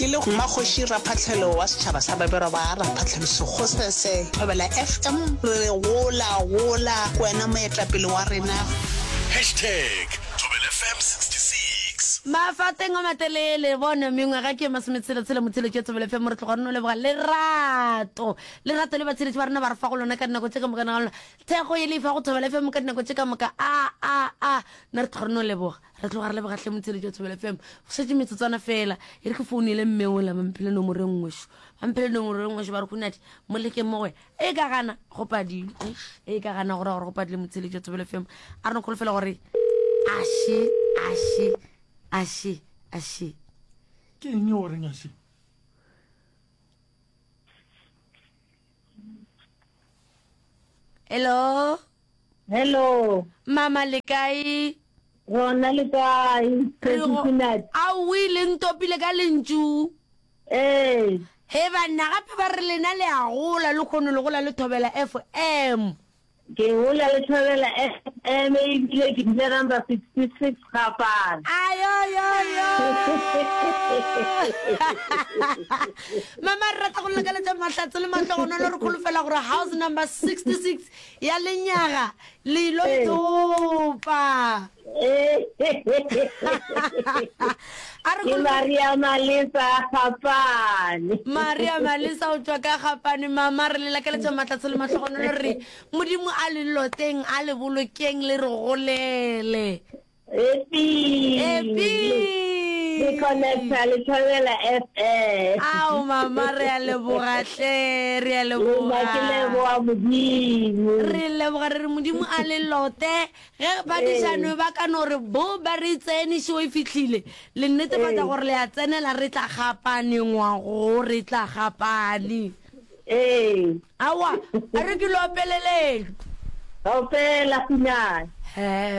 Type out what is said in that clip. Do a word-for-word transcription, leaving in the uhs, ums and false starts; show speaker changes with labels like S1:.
S1: Ke le Mmakgoši Raphahlelo wa setšhaba sa Babelwa ba Raphahlelo Sekgosese, Thobela F M, re re gola, gola, ke wena moetapele wa rena.
S2: Hashtag Thobela F M sixty six.
S3: Mafateng a matelele bone mengwaga ke masometshela-tshela motheletši wa Thobela F M, re tloga re no leboga lerato lerato le batheletši ba rena ba re fa go lona ka dinako tše ka moka na lona thekgo ye le e fa go Thobela F M ka dinako tše ka moka. A a a nna re tloga re no leboga, re tloga re leboga hle motheletši wa Thobela F M. Go šetše metsotswana fela, e re ke founele mme ola ba mphile nomoro e nngwešo, ba mphile nomoro e nngwešo, ba re Khunadi mo lekeng mo go e ka gana go padile, e ka gana go ra gore go padile. Motheletši wa Thobela F M, a re no kholofela gore ashe ashe ashe ashe.
S4: Ke eng o reng ashe?
S3: Hello.
S5: Hello.
S3: Mama, le kae?
S5: Rona le kae?
S3: Re go- Aowi, le ntopile ka lentšu.
S5: Ee.
S3: He banna, gape ba re lena le a gola le kgono le gola le Thobela F M.
S5: Ke gola le Thobela F M ebile ke dula number sixty-six Gapane.
S3: Ayoyoyo. Mama, re rata go lakaletša mahlatse le mahlogonolo, re kholofela gore house number sixty-six ya lenyaga le ilo
S5: Ee.
S3: itopa.
S5: Ee.
S3: A re
S5: Ke
S3: kholofela
S5: Maria Malesa Gapane.
S3: Maria Malesa o tšwa ka Gapane. Mama, re le lakaletša mahlatse le mahlogonolo, re Modimo a le loteng, a le bolokeng, le re golele.
S5: Epi.
S3: Epi.
S5: Ke connecta le Thobela F M.
S3: Ao mama, re a leboga hle, re a
S5: Le nna ke
S3: leboga.
S5: leboga Modimo.
S3: Re leboga, re re Modimo a le lote ge badišano ba ka no re bo ba re tsene šeo e fihlile le netefatša
S5: Ee.
S3: gore le a tsenela, re tla gapane ngwago, re tla gapane.
S5: Ee.
S3: Aowa, a re ke lo opeleleng.
S5: Opela Khunadi.
S3: He.